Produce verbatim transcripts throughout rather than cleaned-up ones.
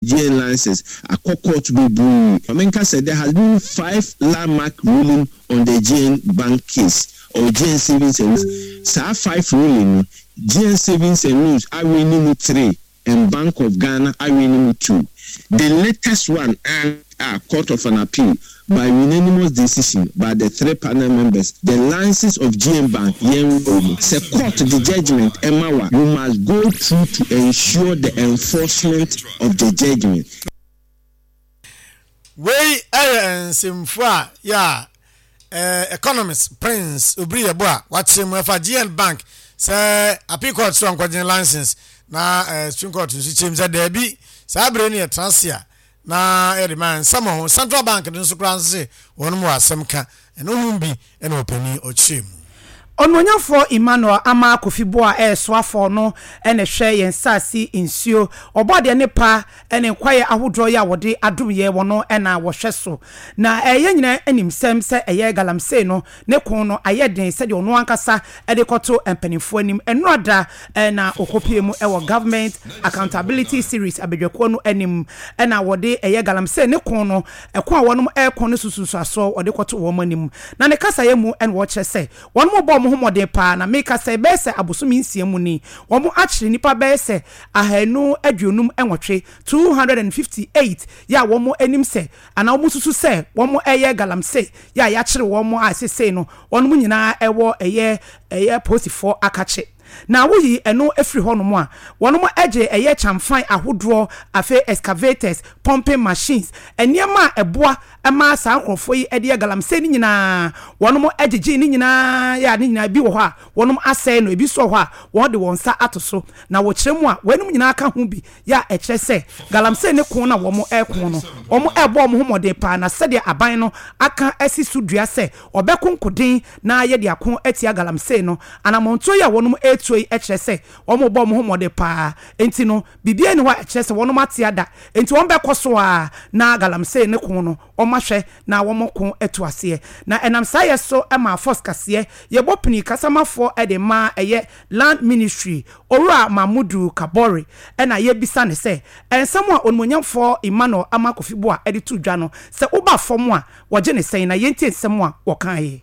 G N license akɔ court bebree. Maame sɛ there has been five landmark ruling on the G N Bank case or G N Savings and Loans. Saa five ruling no, G N Savings and Loans awe ne mu three and Bank of Ghana awe ne mu two. The latest one a Court of an Appeal, by unanimous decision by the three panel members, the license of G N Bank yɛn wɔ mu sɛ court the judgment ɛma wa, you must go through to ensure the enforcement of the judgment. Wei ɛyɛ nsɛmfo a yɛ a ɛɛ economist Prince Obiri Yeboah a wakyerɛ mu ɛfa G N Bank sɛ Appeal Court so nkɔgye license na ɛɛ Supreme Court nso kyerɛ mu sɛ daabi, saa abere no yɛ tena ase a na yɛde ma nsɛm ho. Central Bank no nso koraa nso sɛ wɔn mu asɛm ka ɛno ho bi ɛna ɔpanin ɔkyerɛ mu. Ɔnuonyamfoɔ Emmanuel Armah Kofi Buah a ɛyɛ soafoɔ no ɛna hwɛ yɛn saase, nsuo, ɔbɔadeɛ ne pa ɛne nkwaeɛ ahodoɔ yi a wɔde adom yɛ wɔ no ɛna wɔhwɛ so. Na ɛyɛ nyinaa anim sɛm sɛ ɛyɛ galamsey no ne ko no ayɛ den, sɛdeɛ ɔno ankasa ɛde kɔto mpanimfoɔ anim ɛnora da ɛna ɔkɔpie mu ɛwɔ Government Accountability Series abadwakuo no anim, ɛna wɔde ɛyɛ galamsey ne ko no, ɛko a wɔnom ɛko no susunsuasoɔ wɔde kɔto wɔn anim. Na ne kasayɛ mu ɛna wɔkyerɛ sɛ wɔn mo bɔ wɔn ho mmɔden paa, na meka sɛ bɛyɛ sɛ abosome nsia mu ni, wɔn akyere nipa bɛyɛ sɛ ahanu aduonum nwɔtwe, two hundred and fifty eight, yɛ a wɔn anim sɛ anaa wɔn susu sɛ wɔn ɛyɛ galamsey, yɛ a yɛakyere wɔn a sesei no wɔn nyinaa ɛwɔ ɛyɛ ɛyɛ polisifoɔ akakye. Na woyi ɛno efiri hɔnom a, wɔn gye ɛyɛ kyamfan ahodoɔ, afei excavators, pumping machines, nneɛma a ɛboa ɛma saa nkurɔfoɔ yi de yɛ galamsey no nyinaa, wɔn gyegye ne nyinaa. Yɛ a ne nyinaa bi wɔ hɔ a wɔn asɛe no, ebi nso wɔ hɔ a wɔn de wɔn nsa ato so. Na wɔkyerɛ mu a, wɔn nyinaa ka ho bi yɛ a ɛkyerɛ sɛ galamsey ne ko na wɔn ɛko no, wɔn ɛbɔ wɔn ho mmɔden paa. Na sɛdeɛ aban no aka asi so dua sɛ ɔbɛko nkoden na yɛde ako atia galamsey no, anammɔntuo yi a wɔn ɛretuo yi kyerɛ sɛ wɔn bɔ wɔn ho mmɔden paa. Nti no biribiara ni hɔ a ɛkyerɛ sɛ wɔn ate ada, nti wɔn bɛkɔ so a na galamsey ne ko no wɔn ahwɛ na wɔn ko atu aseɛ. Na ɛnam saa yɛ so ma fɔs kaseɛ yɛbɔ pini kasamafoɔ de ma ɛyɛ Land Ministry, Owura Mamudu Kabore, ɛna yɛbisa ne sɛ nsɛm a onimonyamfoɔ Emmanuel Armah Kofi Buah de to dwa no sɛ woba fam a wɔgye ne sɛn, na yɛntie nsɛm a wɔkaeɛ.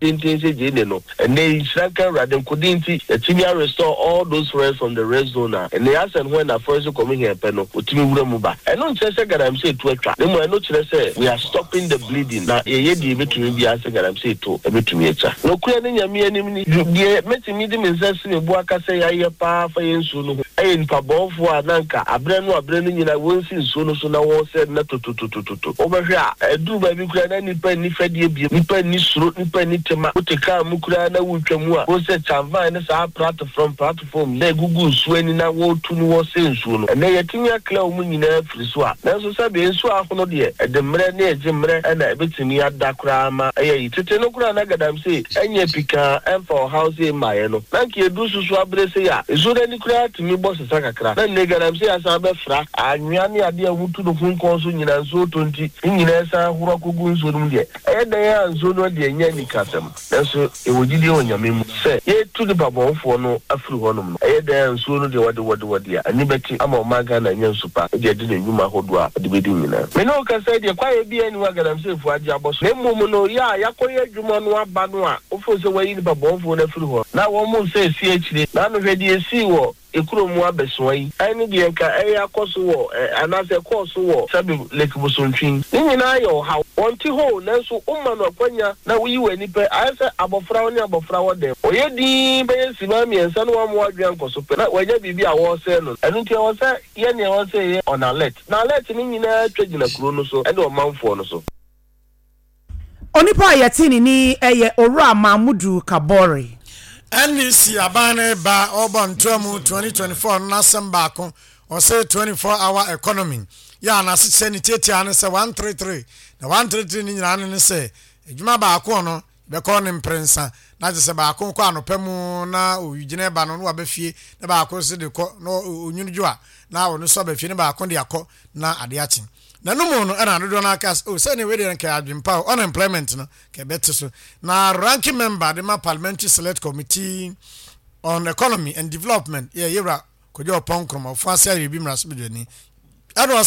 Tenten sɛ gye ne no ɛnɛ yi, nhyira nka Awurade. Nkode nti yɛtumi arestore all those forests from the red zone a ɛnɛ asɛn ho ɛna Forestry Commission pɛ no wɔtumi wura mu ba. Ɛno nkyerɛ sɛ galamsey to atwa, na mmom ɛno kyerɛ sɛ we are stopping the bleeding, na yɛyɛ deɛ yɛbɛtumi biara sɛ galamsey to ɛbɛtumi atwa. Nokorɛ ne Nyame anim ni, deɛ mɛtumi de me nsa si me bo aka sɛ yɛayɛ paa fa yɛ nsuo no ho ɛyɛ nipa bɔnfoɔ a na nka aberɛ no aberɛ no nyinaa wɔnsi nsuo no so na wɔsɛ na tototototo. Wobɛhwɛ a ɛduru baabi koraa na nipa nni fɛdeɛ biem, nipa nni suro, nipa nni tema. Wote kaa mu koraa na wotwa mu a, wo sɛ kyamfan ne saa platform platform na egugu nsuo ani na wɔretu no wɔsɛ nsuo no. Ɛnɛ yɛtumi akla wɔn nyinaa firi so a, nanso sɛbi nsuo ahono deɛ ɛde mmerɛ ne ɛgye mmerɛ ɛna ɛbɛtumi ada koraa ma ɛyɛ yi. Tete no koraa na galamsey ɛnyɛ pikaa ɛmfa ɔhaw sɛ mmaeɛ no, na nka edu soso abere sɛ yɛ a nsuo no ani koraa tumi bɔ sesa kakra. Na nne galamsey asan bɛfra anwea ne adeɛ a wɔtu no ho nkɔn so nyinaa, nsuo tɔ nti ne nyinaa san ahoro akɔgu nsuo no mu. Deɛ ɛyɛ dan a nsuo no deɛ nyɛ anikasɛm, nanso ɛwɔ gyidie wɔ Nyame mu sɛ yɛtu nipa bɔnfoɔ no afiri hɔnom no, ɛyɛ dan a nsuo no deɛ wɔde wɔde wɔde a ani bɛte ama ɔman Ghana nya nsu pa de adi ne nnwuma ahodoɔ a ɔde bɛdi nyinaa. Me ne wo kasa deɛ, kwaeɛ bi ani hɔ a galamseyfoɔ agye abɔ so, na mmom no yɛ a yɛakɔyɛ adwuma no aba no a wofo sɛ wɔayi nipa bɔnfoɔ no afiri hɔ na wɔn mo sɛ esi akyire na anohwɛ deɛ esii wɔ ekuro mu abɛsoa yi, ɛne deɛ nka ɛyɛ akɔ so wɔ ɛ anaasɛ ɛkɔɔ so wɔ sɛbi Lake Bosontwi ne nyinaa yɛ ɔhaw. Wɔn ti hɔ, nanso woma no akwanya na woyi wɔ ani pɛ, ayɛ sɛ abɔfra wo ne abɔfra wɔ dɛm, ɔyɛ din bɛyɛ sima mmiɛnsa na wɔn adwene nkɔ so pɛ na wɔanya biribi a wɔresɛɛ no. Ɛno nti ɛwɔ sɛ yɛ nea ɛwɔ sɛ yɛ on alert, na alert no nyinaa twa gyina kuro no so ɛne ɔmanfoɔ no so. Onipa a yɛte ne ni yɛ Owura Mahmudu Kabore. N D C aban no ba ɔbɔ ntoa mu twenty twenty-four no n'asɛm baako ɔsɛ twenty-four hour economy yɛ a n'asekyerɛ ne tietia no sɛ one three three, na one three three ne nyinaa no ne sɛ adwuma baako no bɛkɔ ne mprɛnsa, na kyerɛ sɛ baako kɔ anɔpa mu na owigyina ba no na waba fie, na baako nso de kɔ na onwunu dwo a na ɔno nso aba fie, na baako de akɔ na ade akye. Na no mu no ɛna dodoɔ no aka sɛ o sɛ ne wei deɛ nka adwempa o, unemployment no ka ɛbɛte so. Na ranking member de ma Parliamentary Select Committee on Economy and Development yɛ yɛwura Kojo Oppong Nkrumah, Ofoase Ayirebi mmarahyɛbadwani, Ɛna ɔse.